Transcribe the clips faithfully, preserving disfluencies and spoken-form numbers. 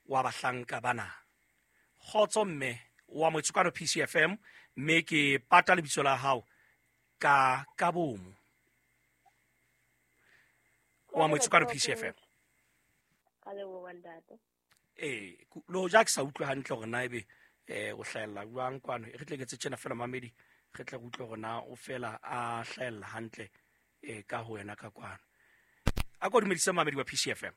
wa bahlanka bana. Kgotso mme wa Motsokano P C F M, mme ke pata lebitso la hao ka ka bomo. Wa Motsokano P C F M. Ka leboha ntate. Eh, lo ja ke sa utlwe hantle hore na ebe eh o hlahella jwang kwano. E re tle ke tse tjena fela mamedi, re tle re utlwe hore na o fela a hlahella hantle eh ka ho wena ka kwano. A ko dumedise mamedi wa P C F M.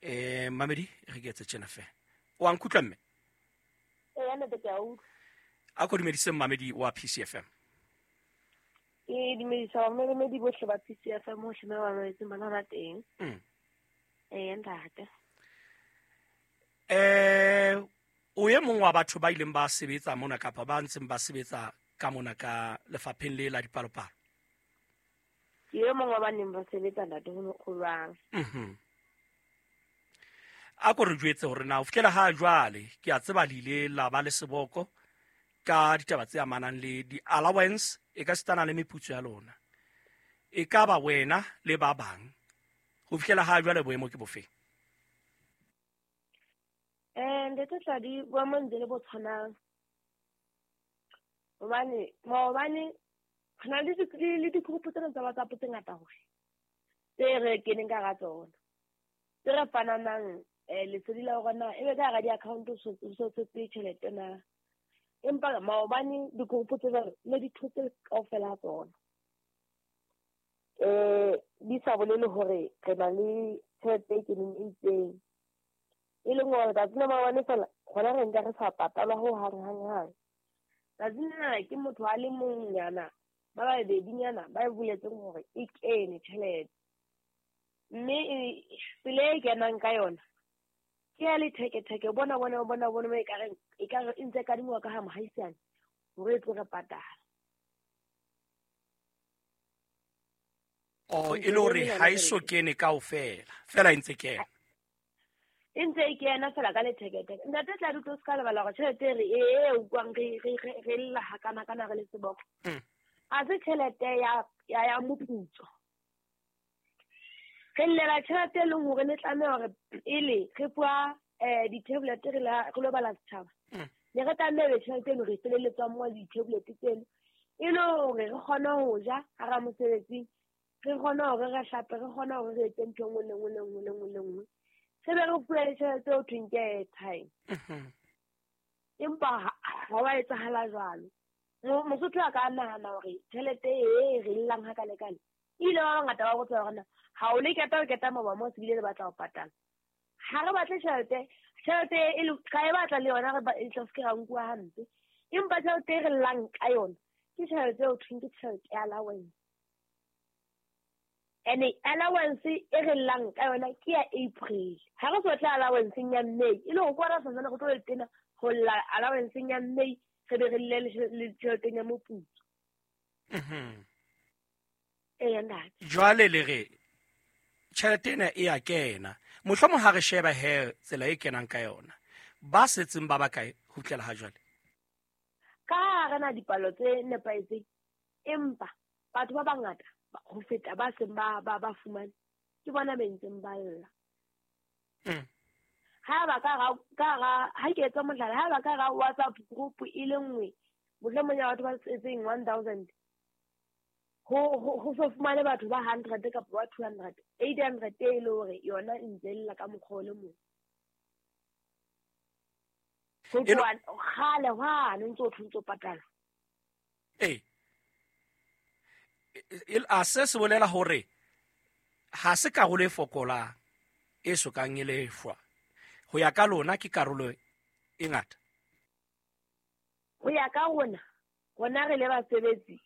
Eh mamedi re ke tse tjena fela. O a nkutlwa mme? Eh ntate ke a utlwa. A ko dumedise mamedi wa P C F M. Ke dumedisa mamedi bohle ba P C F M hohle moo ba mametseng bana ba teng. Mm. Eh ntate. Eh o e mong wa batho ba ileng ba sebetsa mona kapa ba ntseng ba sebetsa ka mona ka lefapheng le la dipalopalo? Ke e mong wa ba neng ba sebetsa ntate ho jwang. Mhm. A ko re jwetse hore na o fihlela ha jwale ke a tseba le ile la ba le seboko ka ditaba tse amanang le di-allowance e ka sitana le meputso ya lona. E ka ba wena le ba bang ho fihlela ha jwale boemo ke bofe? Eh ntate Tladi, boemo ntse le bo tshwanang. Hobane maobane re na le le di-group tsena tsa WhatsApp tse ngata hore tse re keneng ka hara tsona, tse re fananang eh lesedi la hore na ebe ka hara di-account o so tshetse tjhelete na. Empa maobane di-group tse jwalo ne di thotse kaofela ha tsona. Eh di sa bolele hore re na le tjhelete e keneng e itseng. E leng hore tsatsi la maobane fela hona re nka re sa patalwa ho hang hang hang. Tsatsi lena ke motho a le mong nyana ba babedinyana ba e boletseng hore e kene tjhelete. Mme tsela e kenang ka yona ke ya letheketheke, bona bona bona bona e ka reng e ka re e ntse kadingwa ka ha mohaisane hore e tlo re patala. O e le hore ha e so kene kaofela, fela e ntse kena. E ntse e kena fela ka letheketheke. Ntate Tladi, tlo se ka lebala hore tjhelete re e utlwang re re re lla hakana kana re le seboko. Ha se tjhelete ya ya ya moputso. Re llela tjhelete e leng hore ne tlameha hore pele re fuwa eh di-tablet re la re lo bala setjhaba. Ne re tlameha tjhelete eno re feleletswa mo di-tablet tseno e le hore re kgone ho ja hara mosebetsing, re kgone hore re hlape, re kgone hore re etse ntho e nngwe le nngwe le nngwe le nngwe le nngwe. Se be re fuwe le tjhelete eo thweng ke airtime. Empa ha wa etsahala jwalo. Mosotho a ka nahana hore tjhelete e re llang hakalekale ile ba bangata ba botsa hore na ha o le keta o keta maba mo se bile le batla ho patala. Ha re batle tjhelete, tjhelete e le ka e batla le yona re e tla se ke ra nkuwa hampe. Empa tjhelete e re llang ka yona ke tjhelete eo thweng ke tjhelete ya allowance. Ene allowance e re llang ka yona ke ya April. Ha re so tla allowance ya May, e le ho kwara santsane re tlo le tena ho lla allowance ya May re be re lle le tjhelete ya moputso. Mhm. Eh ntate. Jwale le re tjhelete ena e a kena. Mohlomong ha re sheba he tsela e kenang ka yona, ba setseng ba bakae ho fihlela ha jwale? Ka ha re na dipalo tse nepahetseng, empa batho ba bangata ho feta ba seng ba ba ba fumane ke bona ba ntseng ba lla. Mm. Ha ba ka ra ka ra ha ke etsa mohlala, ha ba ka ra WhatsApp group e le nngwe mohlomong ya batho ba setseng one thousand ho ho so fumane batho ba hundred kapa ba two hundred, eight hundred e le hore yona e ntse lla ka mokgwa o le mong. Ho tloha kgale hwane ntse o ntse o patala. Eh. A se se bolela hore ha se karolo e fokolang e sokang e lefwa. Ho ya ka lona ke karolo e ngata. Ho ya ka rona, rona re le basebetsi,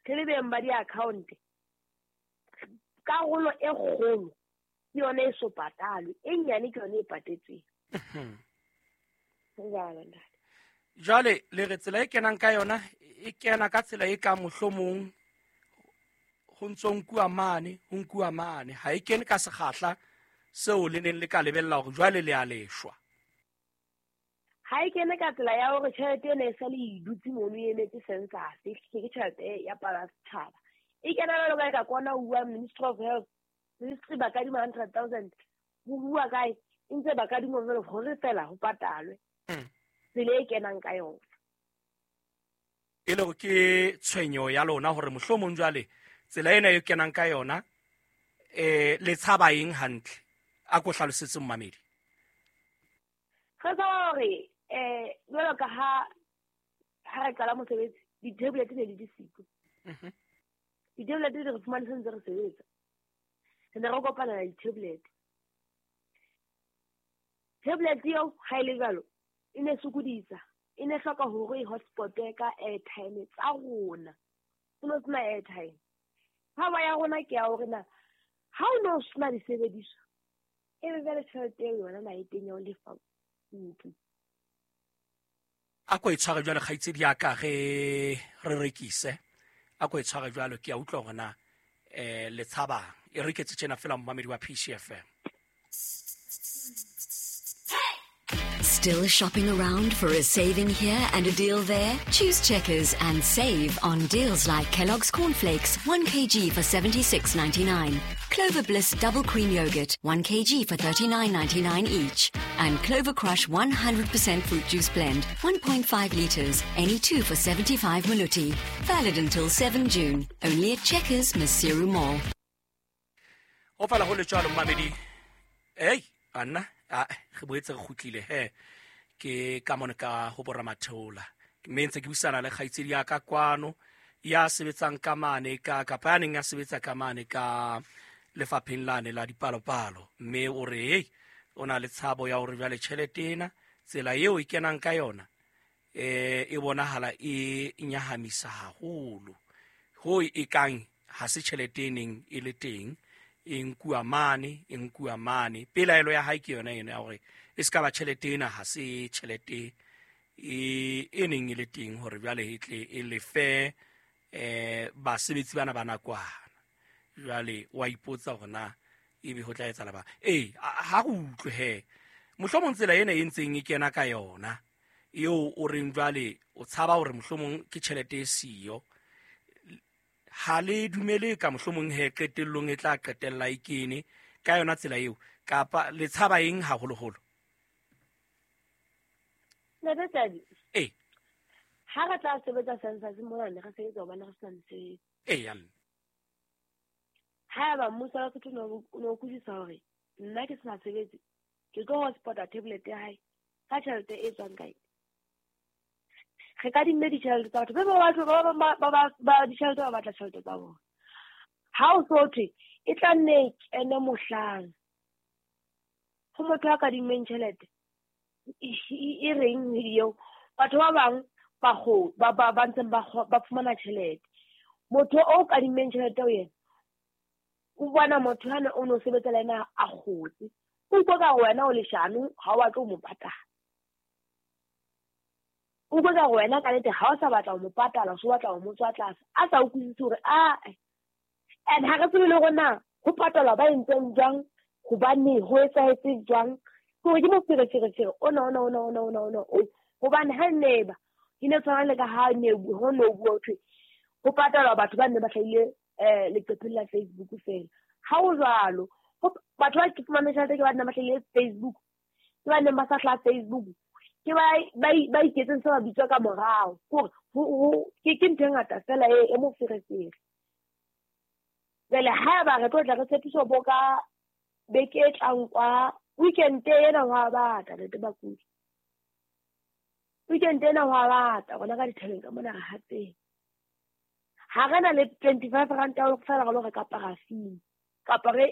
re le beng ba di-account, karolo e kgolo ke yona e so patalwe, e nyane ke yona e patetsweng. Jwale le re tsela e kenang ka yona e kena ka tsela e ka mohlomong ho ntso nkuwa mane, ho nkuwa mane, ha e kene ka sekgahla seo le neng le ka lebella hore jwale le a leshwa. Ha e kene ka tsela ya hore tjhelete ena e sale e dutse mono e emetse census, ke tjhelete ya pala setjhaba. E kena jwalo ka e ka kwana ho bua Ministry of Health, Ministry ba kadima hundred thousand ho bua kae e ntse ba kadima jwalo hore fela ho patalwe tsela e kenang ka yona. E le hore ke tshwenyo ya lona hore mohlomong jwale tsela ena e kenang ka yona eh le tshaba eng hantle? A ko hlalosetse mmamedi. Re tshaba hore eh jwalo ka ha ha re qala mosebetsi di-tablet ne di di siko. Di-tablet di re fumane se ntse re sebetsa. Re ne re kopana le di-tablet. Tablet eo ha e le jwalo e ne sokodisa, e ne hloka hore e hotspot-e ka airtime tsa rona. Ho no sena airtime. Tshabo ya rona ke ya hore na ha o no sena disebediswa e be jwale tjhelete eo yona na e teng ya ho lefa ntlo. A ko e tshware jwalo kgaitsedi ya ka re re rekise. A ko e tshware jwalo ke a utlwa hore na eh le tshabang. E reketse tjena fela mmamedi wa P C F M. Still shopping around for a saving here and a deal there? Choose Checkers and save on deals like Kellogg's Cornflakes, one kilogram for seventy-six ninety-nine, Clover Bliss Double Cream Yogurt, one kilogram for thirty-nine ninety-nine each, and Clover Crush one hundred percent Fruit Juice Blend, one point five litres, any two for seventy-five maluti. Valid until seven June, only at Checkers, Maseru Mall. Ho fela ho le jwalo mmamedi. Hey, Anna, a re boetse re kgutlile he ke ka mona ka ho bora matheola mme ntse ke buisana le kgaitsedi ya ka kwano ya sebetsang ka mane ka kapa ya neng ya sebetsa ka mane ka lefapheng lane la dipalopalo, mme o re hey o na le tshabo ya hore jwale tjhelete ena tsela eo e kenang ka yona eh e bonahala e nyahamisa haholo ho e kang ha se tjhelete e neng e le teng e nkuwa mane e nkuwa mane. Pelaelo ya hae ke yona ena ya hore e ska ba tjhelete ena ha se tjhelete e e neng e le teng hore jwale e tle e lefe eh basebetsi bana ba nakwana. Jwale wa ipotsa hore na ebe ho tla etsahala ba eh ha re utlwe he mohlomong tsela ena e ntseng e kena ka yona eo o reng jwale o tshaba hore mohlomong ke tjhelete e siyo ha le dumele ka mohlomong he qetellong e tla qetella e kene ka yona tsela eo kapa le tshaba eng haholoholo? Ntate, eh ha re tla sebetsa census mona ne re sebetsa hobane re sena mosebetsi. Eh ya mme haeba mmuso wa Lesotho o no utlwisisa hore nna ke sena sebetse ke tlo hotspota tablet ya hae ka tjhelete e tswang kae? Re kadimme ditjhelete tsa batho be ba batho ba ba ba ba ditjhelete ba batla tjhelete tsa bona. Ha o so thwe e tla nne e kene mohlang ho motho a kadimmeng tjhelete e reng eo batho ba bang ba go ba ba ba ntseng ba ba fumana tjhelete. Motho o kadimmeng tjhelete o yena o bona motho hana o no sebetsa le yena a kgotse o utlwa ka wena o leshano ha o batle ho mo patala. O utlwa ka wena ka nnete ha o sa batla ho mo patala o so batla ho mo tswa tlase a sa utlwisise hore a and ha re tsebe le hore na ho patalwa ba entseng jwang hobane ho etsahetse jwang ke hore ke mofereferefere ona ona ona ona ona ona o hobane ha ne ba e ne tshwana le ka ha ne ho no bua ho thwe ho patalwa batho ba nne ba hlahile eh leqepheng la Facebook fela. Ha o jwalo batho ba ke fumane tjhelete ke ba nna ba hlahile Facebook ke ba neng ba sa hlaha Facebook ke ba ba ba iketseng se ba bitswa ka morao hore ho ke ke ntho e ngata fela e e moferefere. Jwale haeba re tlo tla re tshepiso bo ka beke e tlang kwa weekend ena ho a bata ntate bakudi. Weekend ena ho a bata rona ka dithabeng ka mona re hatseng. Ha re na le twenty-five rand ya ho fela re lo reka parafini kapa re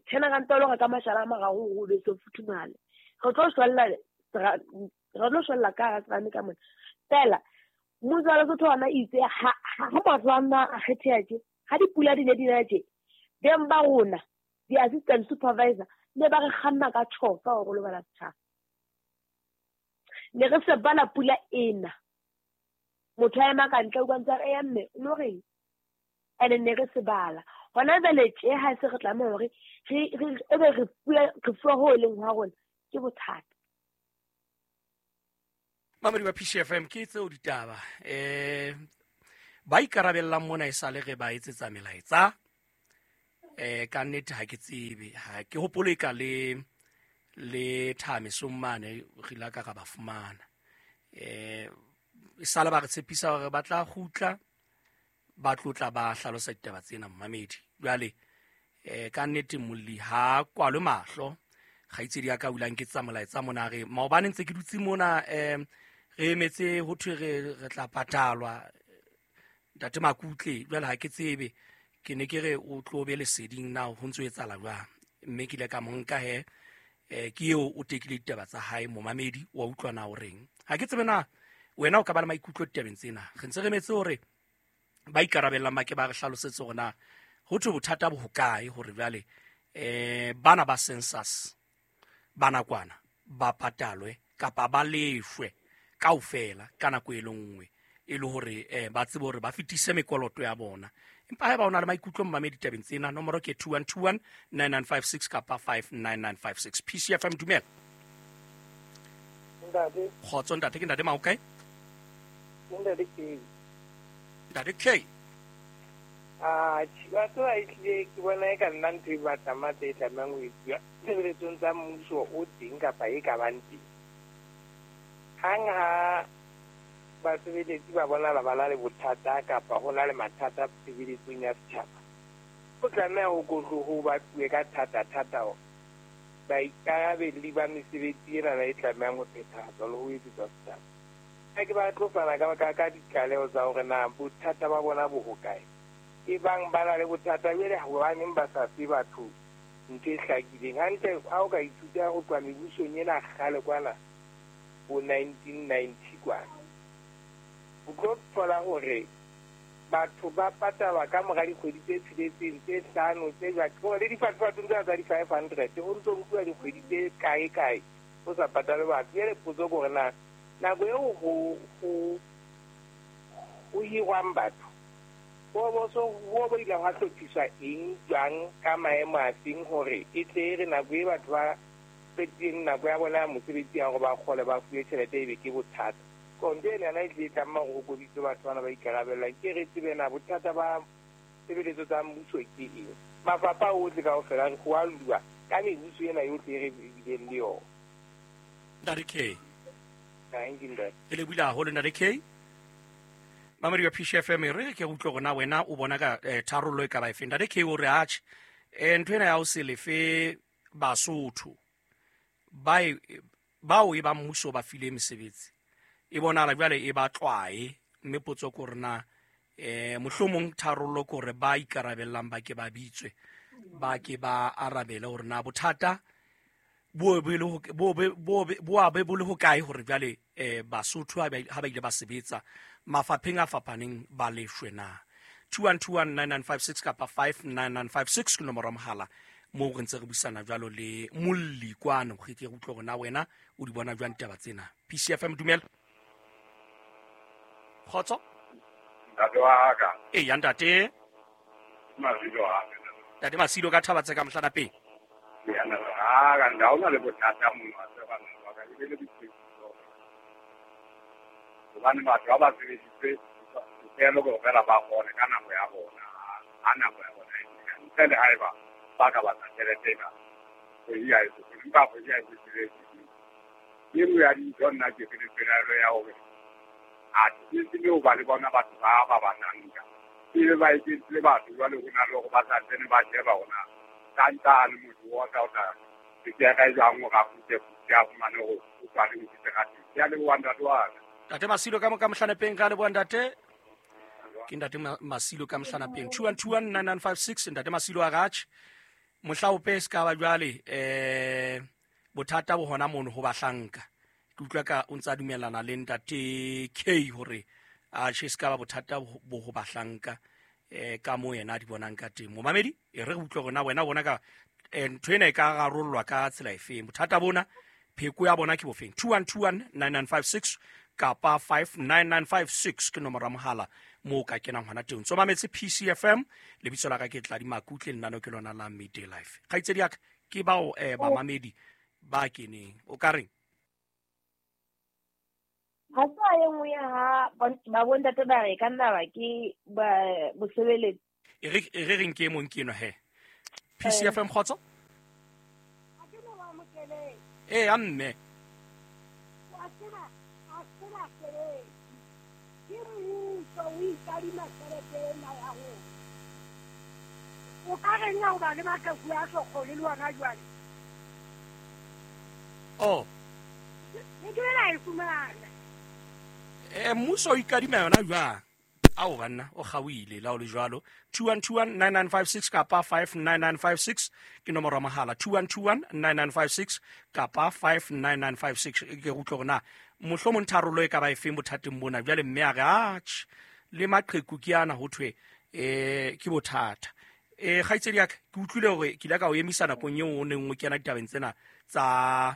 ten rand ya ho reka mashala a mararo hore o be so futhumale. Re tlo shwella re tlo shwella ka hara serame ka mona. Fela mmuso wa Lesotho ona itse ha ha motho a nna a kgetheha tje ha dipula di ne di na tje beng ba rona di-assistant supervisor ne ba re kganna ka tjhofa hore lo bala setjhaba. Ne re se bala pula ena motho a ema ka ntle o utlwa ntse a re eya mme o no reng ene ne re se bala hona jwale tje ha se re tlameha hore re ebe re fuwa re fuwa ho leng ha rona ke bothata. Mamedi wa P C F M ke tseo ditaba eh ba ikarabellang mona e sale re ba etsetsa melaetsa Eh ka nnete ha ke tsebe, ha ke hopole ka le le Thamesong mane re ile ka ka ba fumana. Eh e sala ba re tshepisa hore ba tla kgutla ba tlotla ba hlalosa ditaba tsena mmamedi. Jwale eh ka nnete molli ha kwalwe mahlo, kgaitsedi ya ka ulang ke tsa molaetsa mona re maobane ntse ke dutse mona eh re emetse ho thwe re re tla patalwa ntate Makutle. Jwale ha ke tsebe, ke ne ke re o tlo be leseding na ho ntso etsahala jwang, mme ke ile ka mo nka he eh ke eo o tekile ditaba tsa hae momamedi wa utlwa na o reng. Ha ke tsebe na wena o ka ba le maikutlo ditabeng tsena. Re ntse re metse hore ba ikarabellang ba ke ba re hlalosetse hore na ho thwe bothata bo hokae hore jwale eh bana ba census bana kwana ba patalwe kapa ba lefwe kaofela ka nako e le nngwe, e le hore eh ba tsebe hore ba fetise mekoloto ya bona. Empa haeba o na le maikutlo mmamedi ditabeng tsena, nomoro ke two one two one nine nine five six kapa five nine nine five six. P C F M, dumela. Ntate. Kgotso ntate, ke ntate Mao kae? Ntate K. Ntate K. Ah, batho ba ehlile ke bona e ka nna ntho e batlang matla e tlamehang ho etsuwa tshebeletsong tsa mmuso o teng kapa e ka bang teng. Hang ha basebeletsi ba bonala ba na le bothata kapa ho na le mathata tshebeletsong ya setjhaba, ho tlameha ho ho batluwe ka thata-thata baikarabelli ba mesebetsi enana e tlamehang ho phethahatswa le ho etsetswa setjhaba. Ha ke ba tlo fana ka ka ka ditlaleho tsa hore na bothata ba bona bo hokae. E bang ba na le bothata jwale hobaneng ba sa fe batho ntho e hlakileng. Hantle ha o ka ithuta ho tloha mebusong ena kgale kwana bo nineteen ninety kwana, o tlo thola hore batho ba patalwa ka mora dikgwedi tse tsheletseng, tse hlano, tse jwang. Ke hore le difatfatong tsena tsa di-five hundred ho ntso nkuwa dikgwedi tse kae kae ho sa patalwe batho. Jwale potso ke hore na nako eo ho ho ho hirwang batho bo bo so bo bo ile hwa hlophiswa eng jwang ka maemo a feng hore e tle e re nako e batho ba qetileng nako ya bona ya mosebetsi ya hore ba kgole ba fuwe tjhelete ebe ke bothata. Konto ena ena e tle e tlameha hore ho kobiswe batho bana ba ikarabellang. Ke re tsebe na bothata ba tshebeletso tsa mmuso ke eng. Mafapha ohle kaofela ho a lua ka mebuso ena yohle e re bileng le yona. Ntate K. Thank you, ntate. Ke lebohile haholo ntate K. Mamedi wa P C F M, re ke utlwe hore na wena o bona ka eh, tharollo e ka ba efeng. Ntate K o re atjhe eh, ntho ena ya ho se lefe Basotho ba bao e ba mmuso ba file mesebetsi e bonahala jwale e ba tlwae, mme potso ke hore na eh mohlomong tharollo ke hore ba ikarabellang ba ke ba bitswe ba ke ba arabele hore na bothata bo bo le bo bo bo a be bo le hokae hore jwale eh Basotho ha ba ile ba sebetsa mafapheng a fapaneng ba lefshwe na. two one two one nine nine five six kapa five nine nine five six ke nomoro ya mohala moo re ntse re buisana jwalo le molli kwano re tle re utlwe hore na wena o di bona jwang ditaba tsena. P C F M, dumela. Kgotso. Ntate wa ka. Eya ntate. Masilo wa ka. Ntate Masilo ka thaba tse ka mohlana pele. Ya na ha ka nda ona le bothata mona wa tseba wa ka e le boitsebiso. Hobane batho ba ba sebeditse tokelo ke fela ba kgone ka nako ya bona, ha nako ya bona e fihla. Ntle le haeba ba ka batla tjhelete ena, kgwedi ha e so fele, empa kgwedi ha e se fele. E nngwe ya dintho nna ke le pelaelo ya hore a ke tsebe ho ba le bona batho ba ba batlang nka. Ebe ba eketsile batho jwale ho na le hore ba sa tsene ba sheba hore na ka ntane motho wa ka o tla ke ka e jwang hore a kgutle kgutle a fumane hore o tswa le seterateng. Ke a leboha ntate wa ka. Ntate Masilo ka mo ka mohlanapeng, ka leboha ntate. Ke ntate Masilo ka mohlanapeng. two one two one nine nine five six ntate Masilo a ratjhe. Mohlaope se ka ba jwale eh bothata bo hona mono ho bahlanka. Ke utlwa ka o ntsa dumellana le ntate K hore a tjhe se ka ba bothata bo ho bahlanka eh ka mo yena a di bonang ka teng. Momamedi e re utlwe hore na wena bona ka ntho ena e ka rarollwa ka tsela efeng. Bothata bona pheko ya bona ke bofeng. two one two one nine nine five six kapa five nine nine five six ke nomoro ya mohala moo ka kenang hona teng. Tso mametse P C F M, lebitso la ka ke Tladi Makutle, lenaneo ke lona la Midday Life. Kgaitsedi ya ka ke bao eh bamamedi ba keneng. O ka reng? Ha se a e nngwe ya ha ba bontate ba re ka nna ba ke ba bosebeletsi. E re e re reng ke e mong ke eno he. P C F M kgotso? Ee, a mme. O ka reng ha o ba le maqheku a so kgone le wona jwale? Oh. Ne ke la e fumana. Eh, mmuso o ikadima yona jwang? Ao banna, o kgaohile la o le jwalo. two one two one nine nine five six kapa five nine nine five six ke nomoro ya mohala. two one two one nine nine five six kapa five nine nine five six. Ke utlwe hore na mohlomong tharollo e ka ba efeng bothateng bona. Jwale mme a re atjhe le maqheku ke ana ho thwe eh ke bothata. Eh kgaitsedi ya ka, ke utlwile hore ke ile ka o emisa nakong eo o neng o kena ditabeng tsena tsa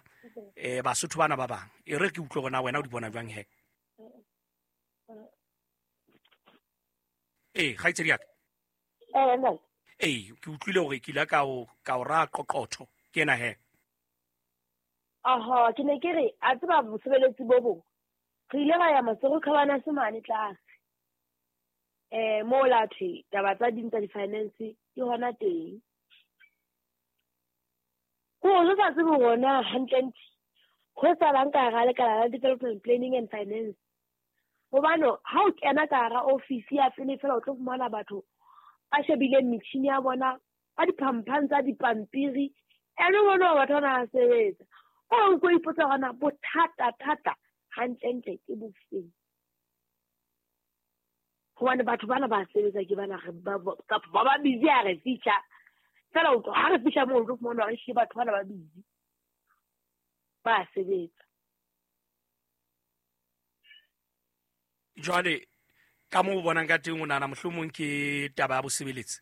eh Basotho bana ba bang. E re ke utlwe hore na wena o di bona jwang he. Eh kgaitsedi ya ka. Eh nna. Eh ke utlwile hore ke ile ka o ka o ra qoqotho ke ena he. Aha, ke ne ke re a tseba bosebeletsi bo bong. Re ile ra ya Maseru Khabana semane tlase. Eh mo la thwe taba tsa ding tsa di-finance ke hona teng. Ko o sa tsebe hore na hantlentle ho etsahalang ka hara lekala la development planning and finance. Hobane ha o kena ka hara office ya pele fela o tlo fumana batho ba shebileng metjhini ya bona ba diphamphan tsa dipampiri, ene bona batho bana ba sebetsa. O ko ipotsa hore na bothata thata hantlentle ke bofeng. Hobane batho bana ba sebetsa ke bana ba kapa ba ba busy ha re fihla. Fela o tlo ha re fihla moo o tlo fumana hore ehlile batho bana ba busy. Ba sebetsa. Jwale ka moo o bonang ka teng o nahana mohlomong ke taba ya bosebeletsi?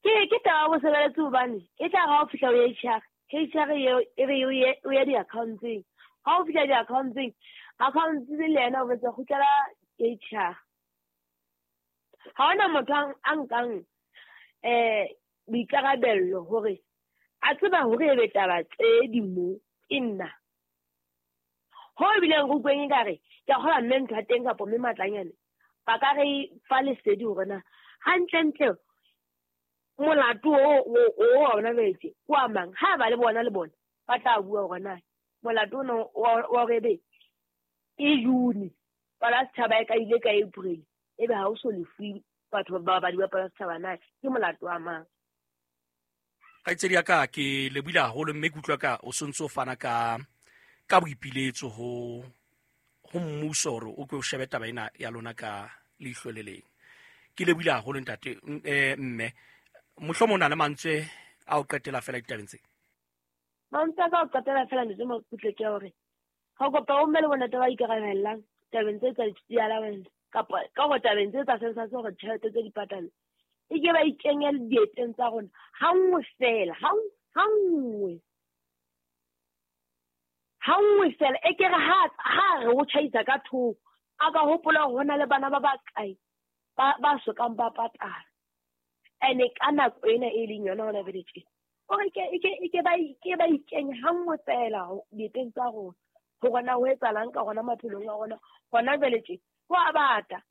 Ke ke taba ya bosebeletsi hobane e tla re ha o fihla ho H R, H R eo e re o ye o ye di-accountseng. Ha o fihla di-accountseng, accounts le yena o botsa kgutlela H R. Ha hona motho a nkang eh boikarabello hore a tseba hore ebe taba tse di mo ke nna. Ho ebileng re utlweng ekare ke a kgolwa mme ntho ya teng kapa mme Matlanyane ba ka re fa lesedi hore na hantlentle molato o o wa ona jwetse ke wa mang. Ha ba le bona le bona ba tla bua hore na molato ona wa hore ebe ke June palo ya setjhaba e ka ile ka April ebe ha o so lefuwe batho ba babadi ba palo ya setjhaba na ke molato wa mang. Kgaitsedi ya ka, ke lebohile haholo mme ke utlwa ka o sontso o fana ka ka boipiletso ho ho mmuso hore o ke o shebe taba ena ya lona ka leihlo le leng. Ke lebohile haholo ntate eh mme mohlomong o na le mantswe a o qetela fela ditabeng tse. Mantswe a ka o qetela fela ntate Makutle ke hore ha kopa o mme le bona taba ikarabellang tabeng tse tsa di-allowance kapa ka hore tabeng tse tsa census hore tjhelete tse di patalwe e ke ba ikenye dieteng tsa rona ha nngwe fela, ha ha nngwe. Ha nngwe fela e ke re ha ha re o tjhaisa ka thoko a ka hopola hore hona le bana ba bakae ba ba sokang ba patala. Ene ka nako ena e leng yona hona jwale tje. Hore ke ke ke ba ke ba ikenye ha nngwe fela dieteng tsa rona hore na ho etsahalang ka rona maphelong a rona hona jwale tje. Ho a bata.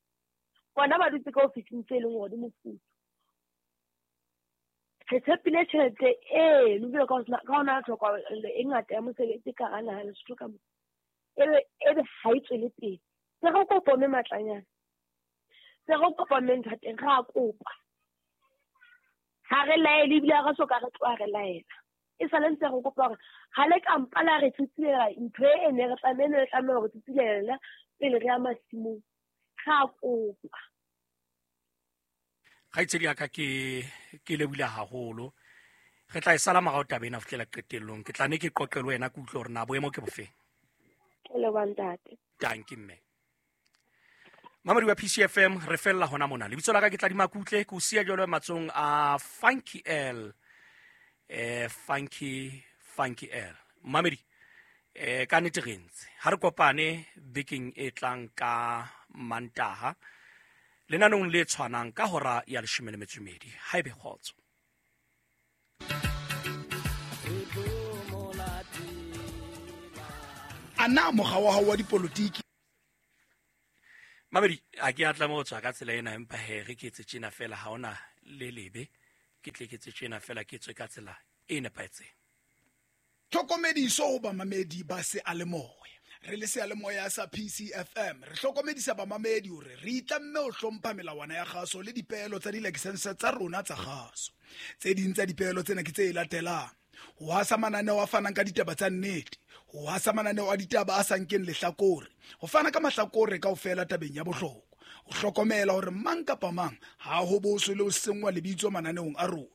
Bona ba dutse ka ofising tse leng hore di mofuthu. Re tshepile tjhelete eno jwalo ka ka hona tlhokahalo e ngata ya mosebetsi ka hara naha ya Lesotho ka mona. Ebe ebe ha e tswele pele. Se re kopa mme Matlanyane. Se re kopa mme ntho ya teng, re a kopa. Ha re laele ebile ha re soka re tloha re laela. E sale ntse re kopa hore ha le ka mpa la re tsitsilela ntho e ne re tlameha ne re tlameha hore tsitsilela pele re ya masimong. Re a kopa. Kgaitsedi ya ka ke ke lebohile haholo. Re tla e sala morao taba ena ho fihlela qetellong. Ke tla ne ke qoqe le wena ke utlwe hore na boemo ke bofeng. Ke leboha ntate. Dankie mme. Mamedi wa P C F M re fella hona mona. Lebitso la ka ke Tladi Makutle, ke o siya jwalo matsohong a Funky L. Eh Funky Funky L. Mamedi eh ka nnete re ntse. Ha re kopane bekeng e tlang ka Mantaha. Lenanong le tshwanang ka hora ya leshome le metso e mmedi. Ha ebe kgotso. A na mokga wa hao wa dipolotiki Mamedi a ke a tlameha ho tswa ka tsela ena empa he re ke etse tjena fela ha ona le lebe, ke tle ke tse tjena fela ke tswe ka tsela e nepahetseng. Tlhokomediso ho bamamedi ba seyalemoya. Re le seyalemoya sa P C F M re hlokomedisa bamamedi hore re itlamme ho hlompha melawana ya kgaso le dipeelo tsa dilakesense tsa rona tsa kgaso. Tse ding tsa dipeelo tsena ke tse latelang: ho hasa mananeo a fanang ka ditaba tsa nnete, ho hasa mananeo a ditaba a sa nkeng lehlakore, ho fana ka mahlakore kaofela tabeng ya bohlokwa, ho hlokomela hore mang kapa mang ha ho boswe le ho senngwa lebitso mananeong a rona,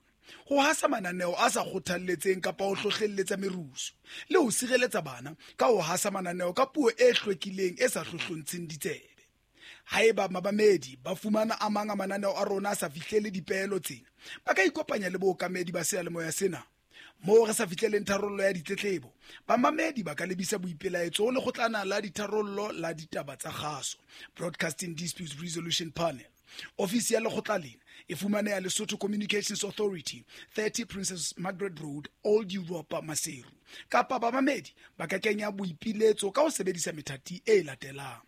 ho hasa mananeo a sa kgothalletseng kapa ho hlohlelletsa merusu, le ho sireletsa bana ka ho hasa mananeo ka puo e hlwekileng e sa hlohlontsheng ditsebe. Haeba mabamedi ba fumana a mang a mananeo a rona a sa fihlele dipeelo tsena, ba ka ikopanya le bookamedi ba seyalemoya sena. Moo re sa fihleleng tharollo ya ditletlebo, bamamedi ba ka lebisa boipelaetso ho lekgotlana la ditharollo la ditaba tsa kgaso, Broadcasting Disputes Resolution Panel. Ofisi ya lekgotla lena e fumaneha Lesotho Communications Authority, thirty Princess Margaret Road, Old Europa, Maseru. Kapa bamamedi ba ka kenya boipiletso ka ho sebedisa methati e latelang: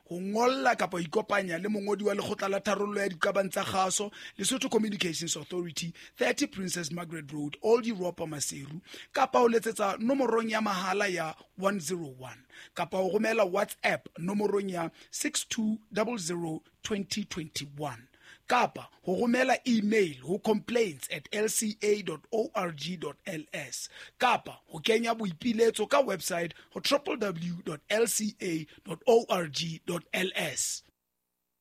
ho ngolla kapa ho ikopanya le mongodi wa lekgotla la tharollo ya diqabang tsa kgaso, Lesotho Communications Authority, thirty Princess Margaret Road, Old Europa, Maseru, kapa ho letsetsa nomorong ya mahala ya one zero one, kapa ho romela WhatsApp nomorong ya six two zero zero twenty twenty-one, kapa ho romela email ho complaints at l c a dot org dot l s, kapa ho kenya boipiletso ka website ho w w w dot l c a dot org dot l s.